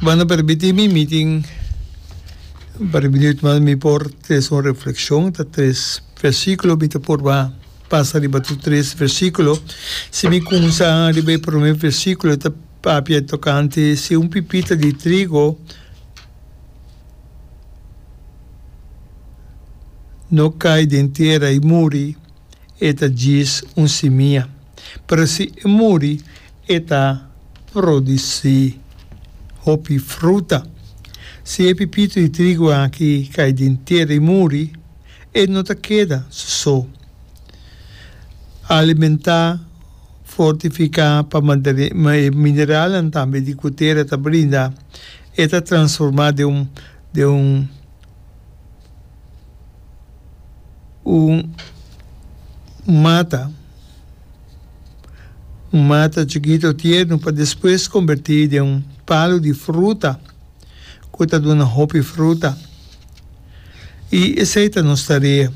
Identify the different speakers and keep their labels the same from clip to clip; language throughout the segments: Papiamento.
Speaker 1: Bo no permiti mi, mi tin un par di minuut mas mi por trese un reflexion, ta tres versiculo mi ta purba pasa riba tur tres versiculo. Si mi cuminsa riba e prome versiculo ta papia tocante si un pipita di trigo no cay den tera y muri, e ta djis un simia, pero si e muri e ta produsí hopi fruta. Si e pipito di trigu aki kai den tera i muri, e no ta keda su so. Alimentá, fortifiká pa e mineralnan tambe di ku tera ta brinda, e ta transformá den un den un. Un mata, un mata chikito tierno pa despues kombertí den un palu di fruta ku ta duna hopi fruta. I esei ta nos tarea.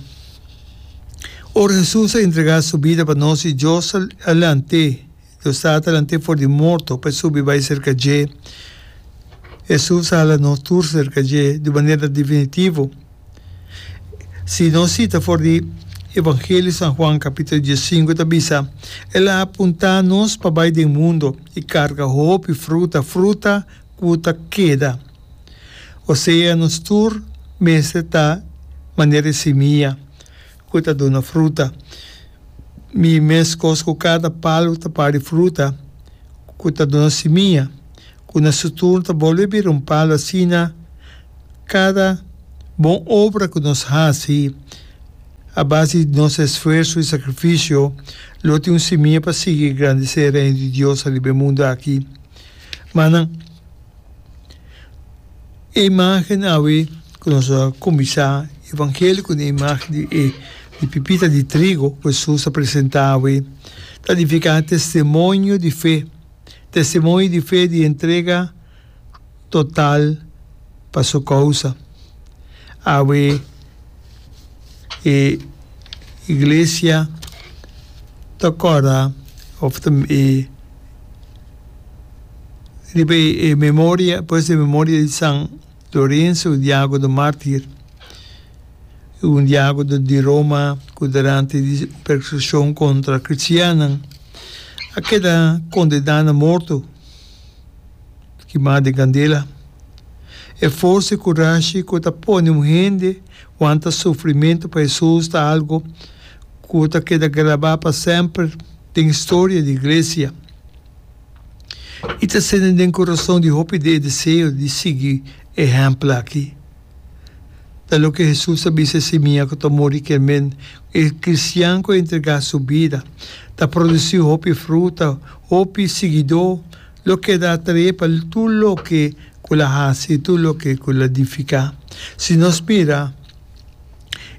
Speaker 1: Ora Hesus a entregá su bida pa nos i Dios a lant'é, Dios Tata lant'é for di morto pa e subi bai serka dje. Hesus a hala nos tur serka dje di un manera definitivo. Si nos sita for di Evangelio San Juan capítulo diesinku ta bisa, El a apuntá nos pa bai den mundo i karga hopi fruta, fruta ku ta keda. Osea nos tur mester ta manera e simia ku ta duna fruta. Mi meskos ku kada palu ta pari fruta ku ta duna simia, ku na su turno ta bolbe bira un palu asina kada bon obra ku nos hasi a base di nos esfuerso i sakrifisio lo tin un simia pa sigui grandesé e Reino di Dios ariba e mundu aki. Manan, e imágen awe ku nos a kuminsá evangelio ku e imágen di e di pipita di trigo ku Hesus a presentá awe ta nifiká testimonio di fe, testimonio di fe di entrega total pa su kousa. Awe e iglesia ta kòrda òf ta e riba e memoria, pues e memoria di San Lorenzo Diagono Mártir, un diagono di Roma ku durante di persekushon kontra kristiannan a keda kondená na morto. Kimá den kandela. E forsa i kurashi ku ta pone un hende wanta sufrimentu pa Hesus ta algu ku ta keda grabá pa semper den historia di iglesia i ta sende den kurason di hopi di e deseo di sigui e ehèmpel aki. Ta loke Hesus a bisa e simia ku ta muri kier men e kristian ku a entregá su bida ta produsí hopi fruta, hopi siguidó. Lo keda atraé pa tur loke ku el a hasi i tur loke ku el a edifiká. Si nos mira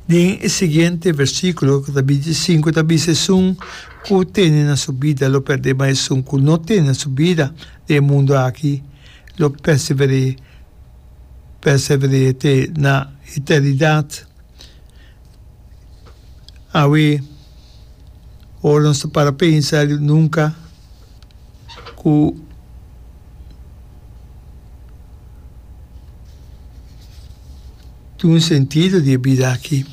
Speaker 1: den e siguiente versíkulo, ku ta bintisinku, ta bisa, Esun ku tene na su bida lo pèrdè, ma esun ku no tene na su bida den e mundu aki lo persever'é, persever'é te na eternidat. Awe, ora nos ta para pensa nunka. ku tin un sentido di e bida aki.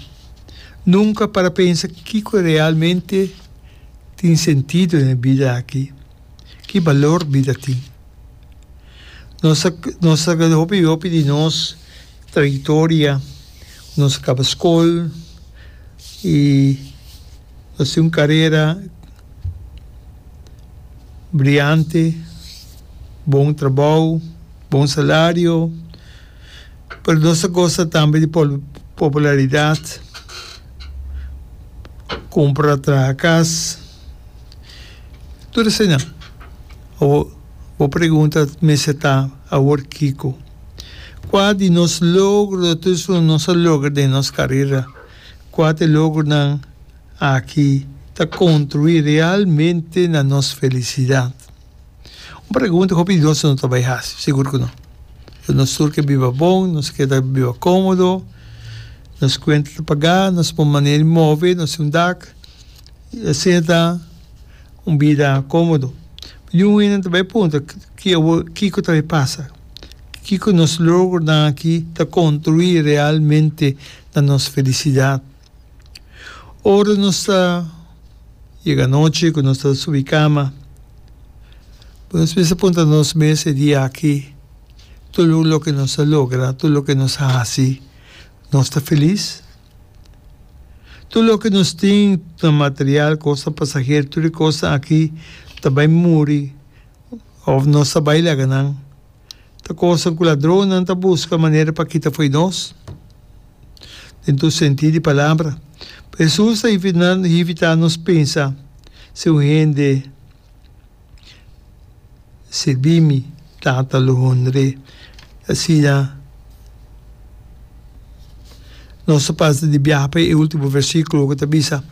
Speaker 1: Nunka para pensa kiko realmente tin sentido den e bida aki, ki balor bida tin. Nos a nos a hopi hopi di nos trayektoria, nos a kaba skol i nos tin un karera. Briante, bon trabou, bon salario, pero nos ta gosa tambe di popularidad, cumpra traha cas, tur eseinan. Awor bo pregunta mester ta awor kico? Cua di nos logro tur esun nos a logra den nos carera? Cua ta e logronan? Aki ta kontribuí realmente na nos felisidat? Un pregunta ku hopi di nos no ta bai hasi, sigur ku no. Nos tur ke biba bon, nos ke ta biba kómodo, nos kuenta ta pagá, nos por manera di move, nos tin un dak, i asina ta un bida kómodo. Niun hende ta bai puntra kiko ta bai pasa. Kiko nos logronan aki ta kontribuí realmente na nos felisidat? Ora nos ta yega anochi ku nos ta subi kama, nos mester puntra nos mes e dia aki, tur loke nos a logra, tur loke nos a hasi, nos ta felis? Tur loke nos tin ta material, kosnan pasahero, tur e kosnan aki ta bai muri òf nos ta bai laga nan. Ta kosnan ku ladronnan ta buska manera pa kita fo'i nos, den tur sentí di palabra. Hesus ta invitá nos pensa, Si un hende sirbi mi, Tata lo honr'é. Asina nos ta pasa di biaha pa e último versíkulo ku ta bisa,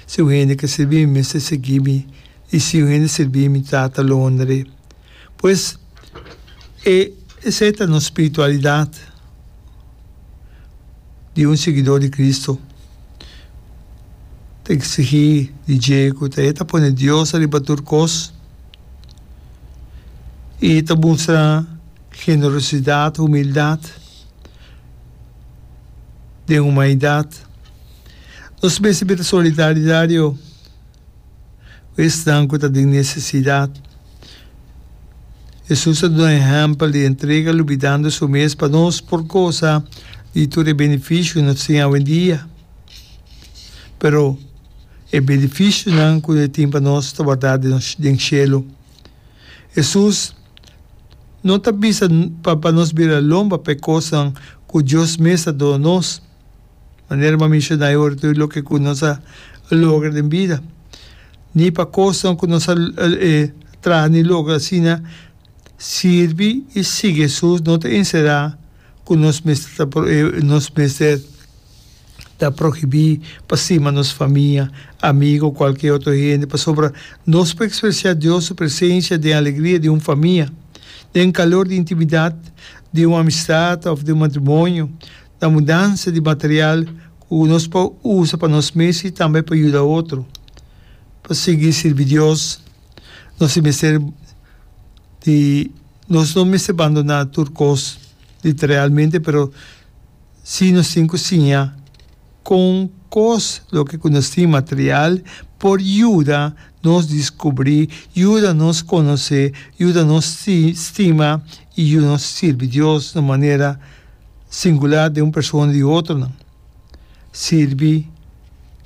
Speaker 1: Si un hende ke sirbi mi, mester sigui mi, i si un hende sirbi mi, Tata lo honr'é. Pues, e esei ta nos spiritualidat di un siguidor di Cristo. Ta exigí di dje cu ta e ta pone Dios ariba tur cos y ta mustra generosidad, humildad den humanidad. Nos mester bira solidario. Ku esnan ku ta den nesesidat. Hesus a duna ehèmpel di entrega lubidando su mes pa nos por gosa di tur e benefisio ku nos tin awendia. Pero e benefisionan ku e tin pa nos ta wardá den shelu. Hesus no ta bisa pa nos bira lomba pa e kosnan ku Dios mes a duna nos. Manera bo a menshoná e ora tur loke ku nos a logra den bida, ni pa kosnan ku nos a traha ni logra asina, sirbi i sigui Hesus no ta enserá ku nos mester ta nos mester ta prohibí pa stima nos famia, amigu o kualke otro hende, pasobra nos por ekspresiá Dios su presensia den alegria di un famia, den kalor di intimidat di un amistat òf di un matrimonio. Na mudansa di material ku nos por usa pa nos mes i tambe pa yuda otro. Pa sigui sirbi Dios, nos tin mester di nos no mester bandoná tur kos literalmente, pero sí nos tin ku siña kon kos loke ku nos tin material por yuda nos diskubrí, yuda nos konosé, yuda nos stima i yuda nos sirbi Dios na un manera singular den un persona di otronan. Sirbi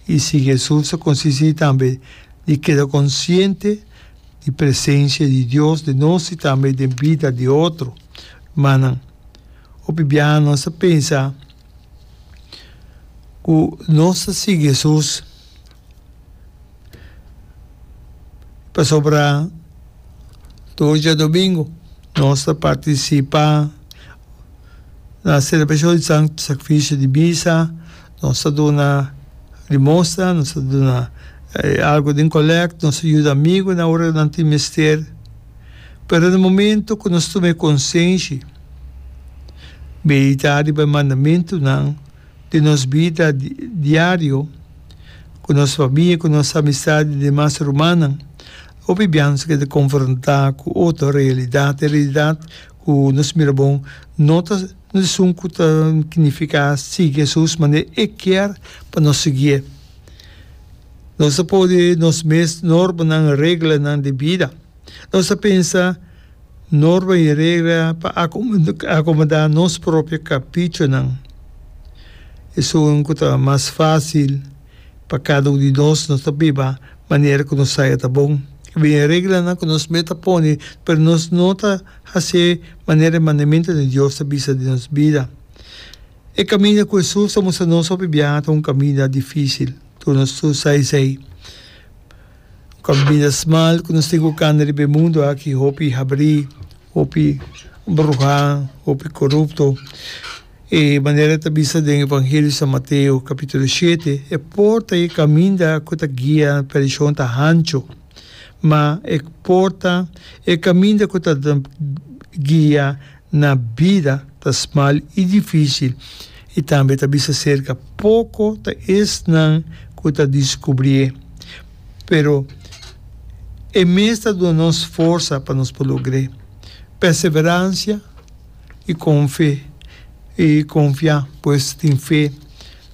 Speaker 1: i sigui Hesus ta konsistí tambe di keda konsiente di presensia di Dios den nos i tambe den bida di otro rumannan. Hopi biaha nos ta pensa ku nos ta sigui Hesus pasobra tur djadomingu nos ta partisipá. Na selebrashon di Santu Sakrifisio di Misa, nos ta duna limosna, nos ta duna algu den kolèkt, nos ta yuda amigunan ora nan tin mester. Pero na momento ku nos tuma e konsenshi, meditá riba e mandamentunan den nos bida diario, ku nos famia, ku nos amistad i demas rumannan, hopi biaha nos ta keda konfrontá ku otro realidat, e realidat Ku nos mira bon, no ta esun ku ta nifiká sigui Hesus manera e kier pa nos siguié. Nos ta pone nos mes normanan, reglanan di bida. Nos ta pensa norma i regla pa akomodá nos propio kaprichonan. Esun ku ta mas fásil pa kada un di nos, nos ta biba manera ku nos saya ta bon. Bin e reglanan ku nos mes ta pone, pero nos no ta hasié manera e mandamentu di Dios ta bisa den nos bida. E kaminda ku Hesus ta mustra nos hopi biaha ta un kaminda difísil. Tur nos tur sa esei. Un kaminda smal ku nos tin ku kanda riba e mundu aki hopi habrí, hopi bruhá, hopi korupto. E manera ta bisa den Evangelio di San Mateo capítulo shete, e porta i e caminda cu ta guia na perdicion ta hancho, ma e porta, e caminda cu ta guia na bida ta smal i dificil, i tambe ta bisa cerca poco ta esnan cu ta descubrié. Pero e mes ta duna nos forsa pa nos por logr'é. Perseverancia. i konfe i konfia, pues tin fe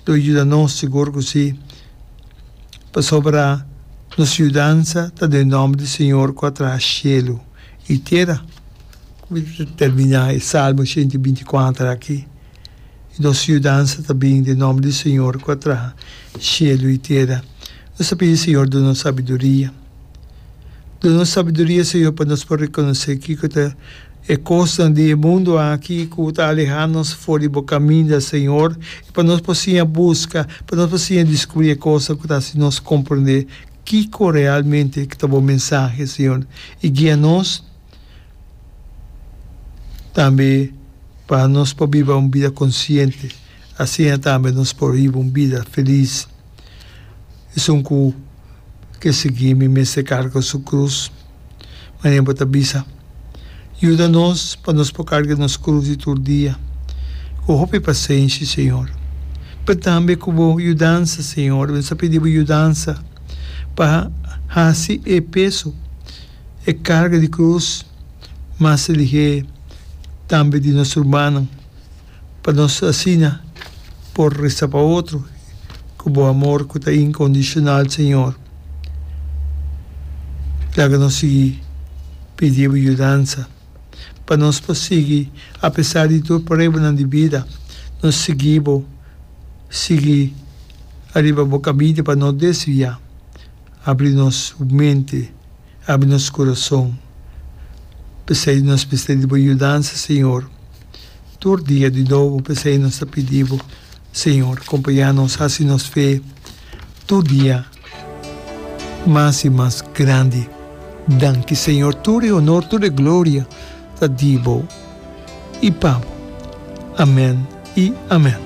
Speaker 1: lo yuda nos, sigur ku si, pasobra nos yudansa ta den nòmber di Señor ku a traha shelu i tera. Mi ta terminá e Salmo 124 aki. I nos yudansa ta bin den nòmber di Señor ku a traha shelu i tera. Nos ta pidi Señor duna nos sabiduria. Duna nos sabiduria, Señor, pa nos por rekonosé kiko ta e kosnan di e mundu aki ku ta alehá nos for di bo kaminda, Señor, i pa nos por siña buska, pa nos por siña diskubrí e kosnan ku ta hasi nos komprendé kiko realmente ta bo mensahe, Señor, i guia nos tambe pa nos por biba un bida konsiente, asina tambe nos por biba un bida felis. Esun ku ke sigui mi mester karga su krus. Manera bo ta bisa, Yuda nos pa nos por karga nos krus di tur dia ku hopi pasenshi, Señor. Pero tambe ku bo yudansa, Señor. Nos ta pidi bo yudansa pa hasi e peso, e karga di krus mas lihé tambe di nos rumannan. Pa nos asina por resa pa otro ku bo amor ku ta inkondishonal, Señor. Laga nos sigui pidi bo yudansa pa nos por sigui apesar di tur pruebanan di bida, nos sigui bo, sigui ariba bo kaminda pa no desviá. Abri nos mente. Abri nos kurason. P'esei nos mester di bo yudansa, Señor. Tur dia di nobo, p'esei nos ta pidi bo, Señor, kompañá nos, hasi nos fe tur dia mas i mas grandi. Danki, Señor. Tur e honor, tur e gloria ta di bo i pa bo. Amen i amen.